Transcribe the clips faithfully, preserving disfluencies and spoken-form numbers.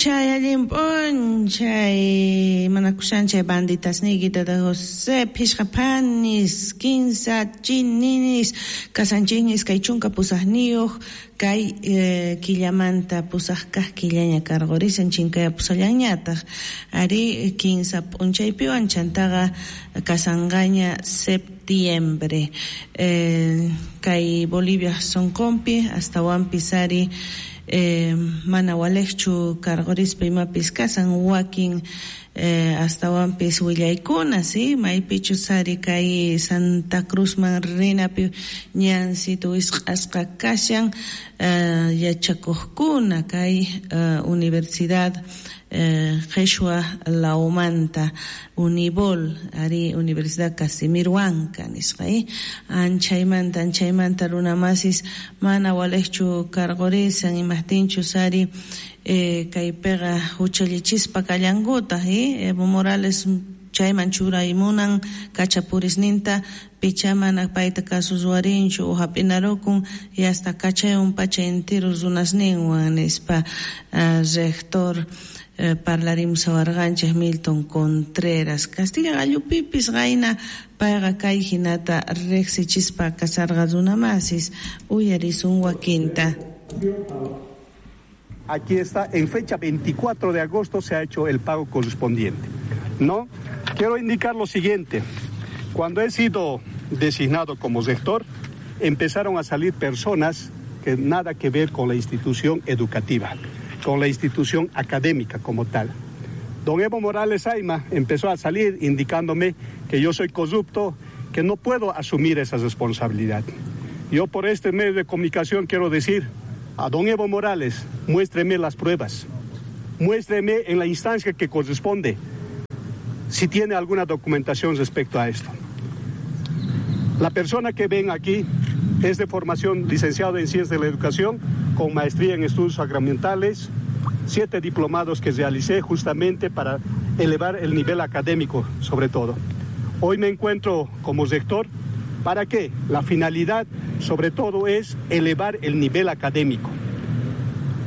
p'unchay, allin p'unchay, manakushanchay banditasniyki tata José, phishqa phanis, kinsa chininis, kasanchikñis kay chunka pusaqniyuq, kay eh, killamanta pusaq kaq killaña karqurisan chinkayapusallanñataq, ari kinsa p'unchaypiwan chantaqa kasanqaña septiembre. Eh, kay Bolivia sonqonpi astawanpis ari eh, mana waliqchu karqurispa imapis kasan wakin eh, astawanpis willaykuna, si maypichus ari kay Santa Cruzman rinapi ñansito wisq'asqa kashan eh, yachakuqkuna kay eh, universidad eh, Qhishwa Lawmanta Unibol ari Universidad Casimir Huanca nisqa eh? Anchaymanta anchaymanta runamasis mana waliqchu karqurisan imaqtinchus ari eh, kaypiqa huchallichispa kallankutaq eh? Evo Morales chayman churaymunan kachapurisninta picha mana payta kasusuarinchu o hap'inarukun y hasta kachayun pacha entero runasninwan nispa uh, rector eh, parlarimusawarqanchik Milton Contreras Castilla gallupipis qayna payqa kay hinata riqsichispa kasarqa runamasis uyarisun wakinta. Aquí está, en fecha veinticuatro de agosto se ha hecho el pago correspondiente, ¿no? Quiero indicar lo siguiente. Cuando he sido designado como rector, empezaron a salir personas que nada que ver con la institución educativa, con la institución académica como tal. Don Evo Morales Ayma empezó a salir indicándome que yo soy corrupto, que no puedo asumir esa responsabilidad. Yo por este medio de comunicación quiero decir a don Evo Morales, muéstreme las pruebas, muéstreme en la instancia que corresponde si tiene alguna documentación respecto a esto. La persona que ven aquí es de formación licenciado en Ciencias de la Educación, con maestría en Estudios Sacramentales, siete diplomados que realicé justamente para elevar el nivel académico, sobre todo. Hoy me encuentro como rector. ¿Para qué? La finalidad, sobre todo, es elevar el nivel académico.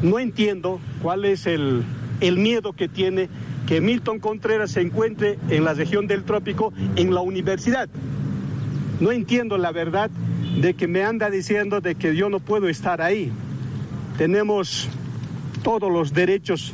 No entiendo cuál es el, el miedo que tiene que Milton Contreras se encuentre en la región del Trópico, en la universidad. No entiendo la verdad de que me anda diciendo de que yo no puedo estar ahí. Tenemos todos los derechos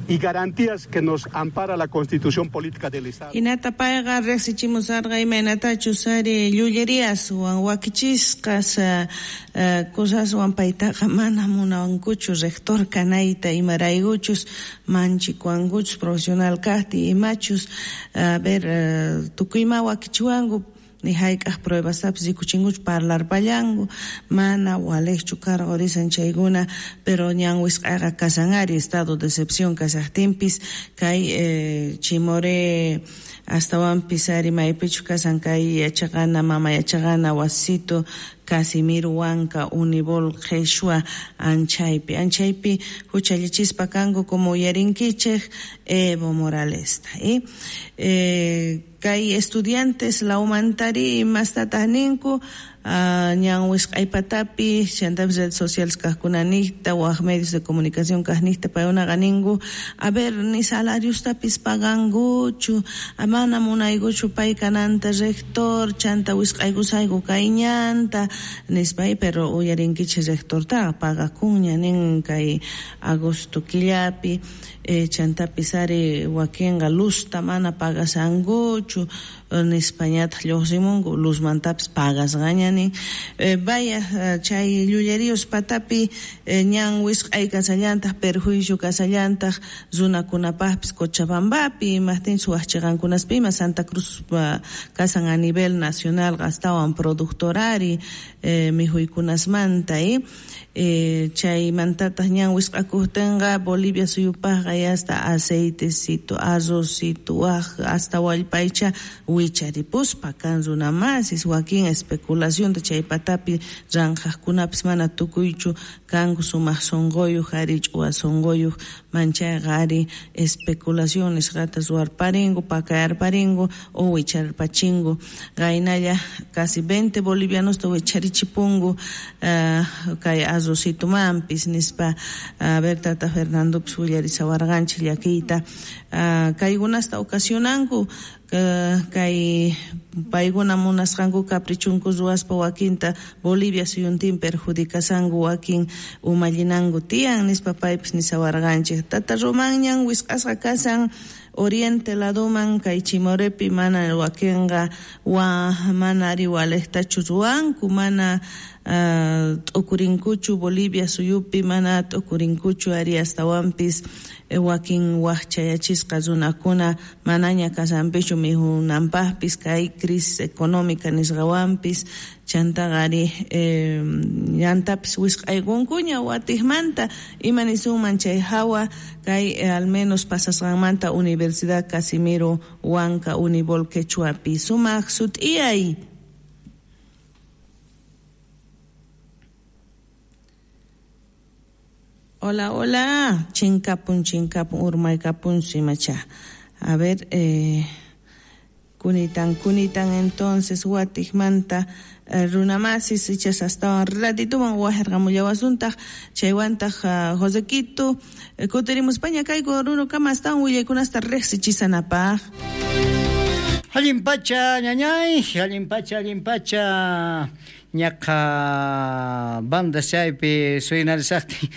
y garantías que nos ampara la Constitución Política del Estado. Hinata payqa riqsichimusarqa imaynatachus ari llulleriaswan wakichisqas uh, uh, cosaswan paytaqa mana munawankuchu rector kanayta imaraykuchus manchikuwankuchus profesional kaqti imachus a ver uh, tukuyma wakichiwanku ni hayk'aq pruebastapis rikuchinkuchu parlarpallanku mana waliqchu karqurisan chaykuna pero ñan wisq'ayqa kasan ari estado de excepción kasaqtinpis kay eh, Chimoré astawanpis ari maypichu kasan kay yachaqana mama yachaqana wasito Casimir Huanca Unibol Qhishwa anchaypi anchaypi huchallichispa kanku como uyarinkichik Evo Moralesta eh? Eh, kay estudiantes lawmantari imastataq ninku uh, ñan wisq'aypatapi chantapis redes sociales kaqkunanijta waq medios de comunicación kaqnijta paykunaqa ninku a ver ni salariostapis pagankuchu mana munaykuchu pay kananta rector chanta wisq'aykusayku kay ñanta nispa pero uyarinkichik rectortaqa pagakunña nin kay agosto killapi eh, chantapis ari wakinqa luzta mana pagasankuchu nispañataq lluqsimunku luzmantapis pagasqaña nin eh, vaya chay llulleríos patapi eh, ñan wisq'ay kasallantaq perjuicio kasallantaq runakunapaqpis Cochabambapi imaqtinchus waq chiqankunaspima Santa Cruz uh, kasan a nivel nacional astawan productor ari eh, mikhuykunasmanta eh? Eh, chaymantataq ñan wisq'akuqtinqa Bolivia suyupaqqa hasta aceitecito, arrocito, waq hasta wallpaycha wicharipuspa kan runamasis wakin especulación chay patapi ranqaqkunapis mana tukuychu kanku sumaq sunquyuq ari ch'uwa sunquyuq manchayqa ari especulación nisqata ruwarparingu pakayarparingu o wicharpachingu qaynalla casi veinte bolivianosta wicharichipungu uh, kay arrocitumanpis nispa a ver tata Fernandopis willarisawarqanchik llakiyta uh, kaykunasta ocasionanku uh, kay paykuna munasqanku caprichunku ruwaspa wakinta Bolivia suyuntin perjudicasanku wakin umallinanku tiyan nispa paypis nisawarqanchik tata Romanñan wisq'asqa kasan oriente laduman kay Chimorepi mana wakinqa wa mana ari walejtachu ruwanku mana uh, t'ukurinkuchu Bolivia suyupi mana t'ukurinkuchu ari astawanpis wakin wajchayachisqa runakuna manaña kasanpichu mijunanpaqpis kay crisis económica nisqawanpis chantaqa ari eh, llantapis wisq'aykunkuña watiqmanta ima nisunman chay hawa kay eh, al menos pasasqanmanta Universidad Casimiro Huanca Unibol Quechuapi sumaq sut'iyay. Hola, hola, chinkapun, chinkapun, urmaykapun, simacha. A ver, eh, kunitan, kunitan, entonces, watiqmanta, eh, runamasis, ichas hasta ratituman wajerqamullawasuntaq, chaywantaq, uh, Josequito, eh, kutirimuspaña kayku runukama astawan willaykunasta riqsichisanapaq. Allin pacha, ñañay, allin pacha, allin pacha. Ñaqa banda chaypi suynarisaqtin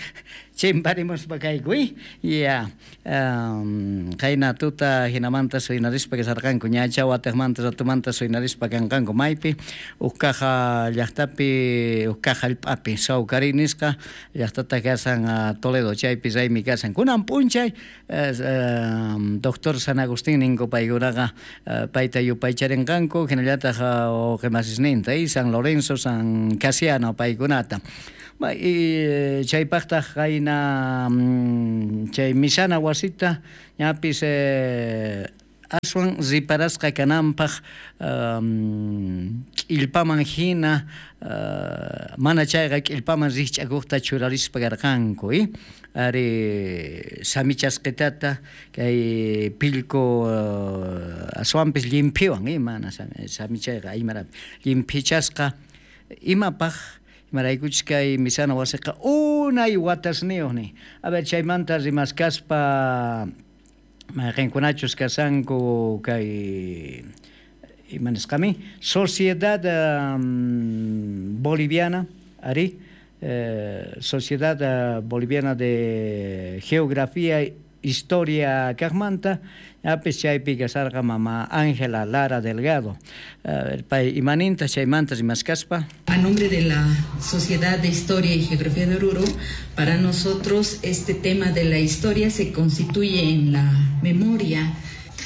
chimparimuspa kayku, ya qayna tuta hinamanta suynarispa kasarqanku ñacha watiqmanta ratumanta suynarispa kanqanku maypi huk caja llaqtapi huk caja hallp'api Sawkari nisqa llaqtata kasan Toledo chaypi raymi kasan kunan p'unchay doctor San Agustín ninku paykunaqa payta yupaycharinqanku hinallataq uqimasisninta y San Lorenzo San Casiano paykunata y chaypaqtaq qayna chay misana wasita ñapis eh, aswan riparasqa kananpaq k'illpaman hina uh, mana chayqa k'illpaman rikch'akuqta churarispa karqanku y ari samichasqitata kay pillku uh, aswanpis llimphiwan y mana samichayqa aymarapi llimphichasqa imapaq imaraykuchus kay misana wasiqa unay watasniyuq ni a ver chaymanta rimaskaspa mayqinkunachus kasanku kay ima nisqami Sociedad um, Boliviana ari eh, Sociedad Boliviana de Geografía Historia kaqmanta ñapis chaypi kasarqa mama Ángela Lara Delgado. Pay imaninta chaymanta rimaskaspa. A nombre de la Sociedad de Historia y Geografía de Oruro, para nosotros este tema de la historia se constituye en la memoria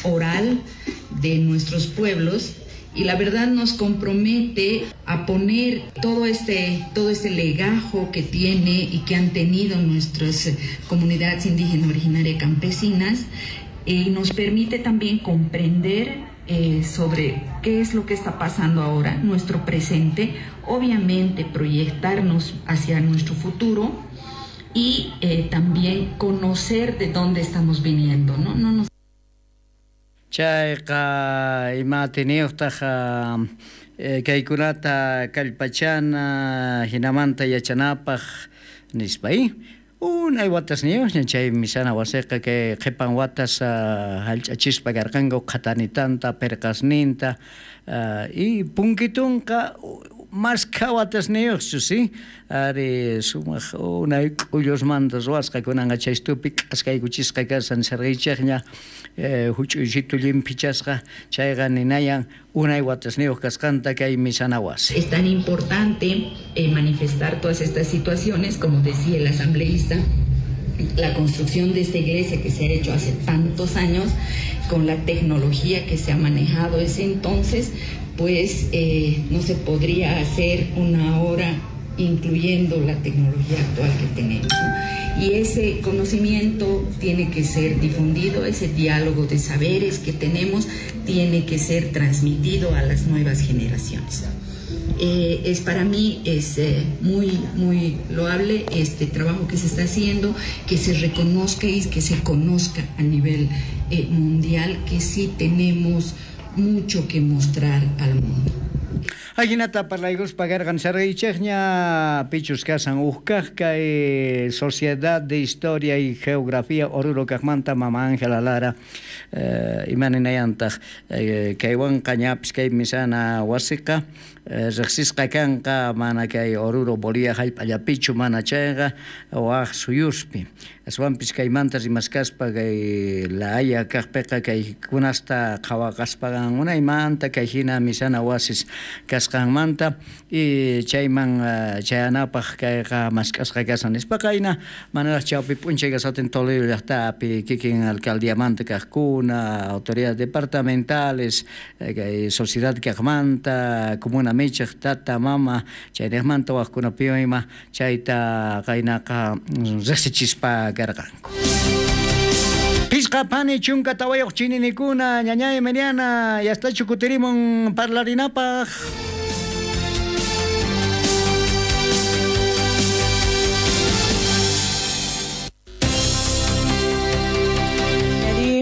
oral de nuestros pueblos y la verdad nos compromete a poner todo este, todo este legajo que tiene y que han tenido nuestras comunidades indígenas originarias campesinas, y nos permite también comprender eh, sobre qué es lo que está pasando ahora, nuestro presente, obviamente proyectarnos hacia nuestro futuro y eh, también conocer de dónde estamos viniendo, ¿no? No nos Chayqa ima atiniyuqtaq kaykunata kallpachana hinamanta yachanapaq nispa y unay watasniyuqña chay misana wasiqa kay qhipan watas hallch'achispa karqanku qhatanitanta pirqasninta y punkitunqa maskha watasniyuqchu si ari sumaq unay k'ullusmanta ruwasqa kunanqa chaystupi k'askaykuchisqa kasan sarqiychikña huch'uysitu llimphichasqa chayqa ninayan unay watasniyuq kasqanta kay misana wasi. Es tan importante eh, manifestar todas estas situaciones, como decía el asambleísta, la construcción de esta iglesia que se ha hecho hace tantos años, con la tecnología que se ha manejado ese entonces, pues eh, no se podría hacer una obra incluyendo la tecnología actual que tenemos, ¿no? Y ese conocimiento tiene que ser difundido, ese diálogo de saberes que tenemos tiene que ser transmitido a las nuevas generaciones. Eh, es para mí es eh, muy, muy loable este trabajo que se está haciendo, que se reconozca y que se conozca a nivel eh, mundial que sí tenemos mucho que mostrar al mundo. Ajinata parlaykuspa karqan sarqaychikña pichus kasan uqkaq kay Sociedad de Historia y Geografía Oruro kaqmanta mama Ángela Lara eh, imaninayantaq eh, kaywanqa ñapis kay misana wasiqa eh, riqsisqa kanqa mana kay Oruro Bolivia hallp'allapichu mana chayqa waq suyuspi aswanpis kaymanta rimaskaspa kay La Haya kaqpiqa kay kunasta qhawaqaspaqa unaymanta kay hina misana wasis kasqanmanta y chayman chayanapaq kayqa mask'asqa kasan nispaqa ayna manaraq chawpi p'unchay kasatin Toledo llaqtapi kikin alcaldiamanta kaqkuna autoridades departamentales kay sociedad kaqmanta comuna michiq tata mama chayniqmanta waqkunapiwan ima chayta qaynaqa riqsichispa karqanku. Pisqa pani chunka tawayuq chininikuna ñañay Mariana yastachu kutirimun parlarinapaq.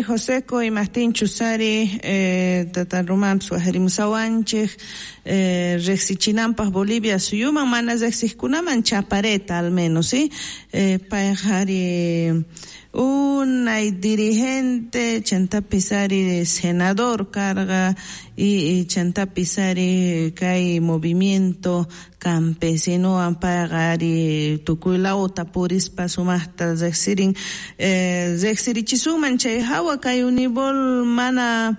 Joseco y Martín Chusari, eh, Tata Román, Suajerimusawanchej, eh, Rexichinampas, Bolivia, Suyuman, mana Rexiscunaman, Chapareta al menos, ¿sí? Eh, Pajari, unay dirigente, Chantapisari, senador, carga, y, y Chantapisari, kay movimiento campesino, ampagari, tukuylauta, purispa, sumasta, rexirin, eh, rexirichisuman, chay hawa, kay unibol, mana,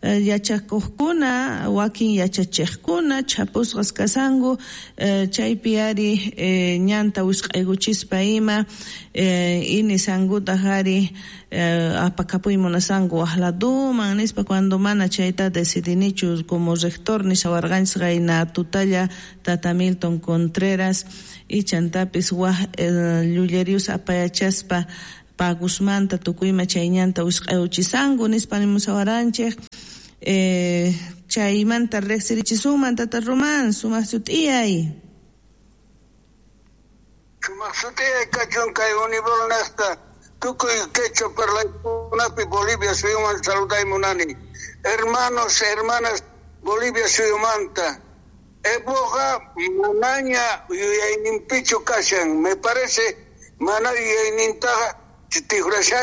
yachakuqkuna, wakin yachachiqkuna, chapusqas kasanku, chaypi ari ñanta wisq'aykuchispa ima, inisankutaq ari apakapuy munasanku waqladuman nispa cuando mana chayta decidinichu como rector nishawarqanchis qayna tutalla tata Milton Contreras y chantapis waq llullerius apayachaspa pagusmanta tukuyma chay ñanta wisq'ayuchisanku nispa nimusawaranchik. Eh, chaymanta riqsirichisunman tata Román, sumaq sut'iyay. Sumaq sut'iyay kachun kay unibol naqta tukuy quechua parlaykunapi Bolivia suyuman saluday munani. Hermanos, hermanas, Bolivia suyumanta. Evoqa manaña yuyayninpichu kashan, me parece mana yuyaynintaqa tigrashan.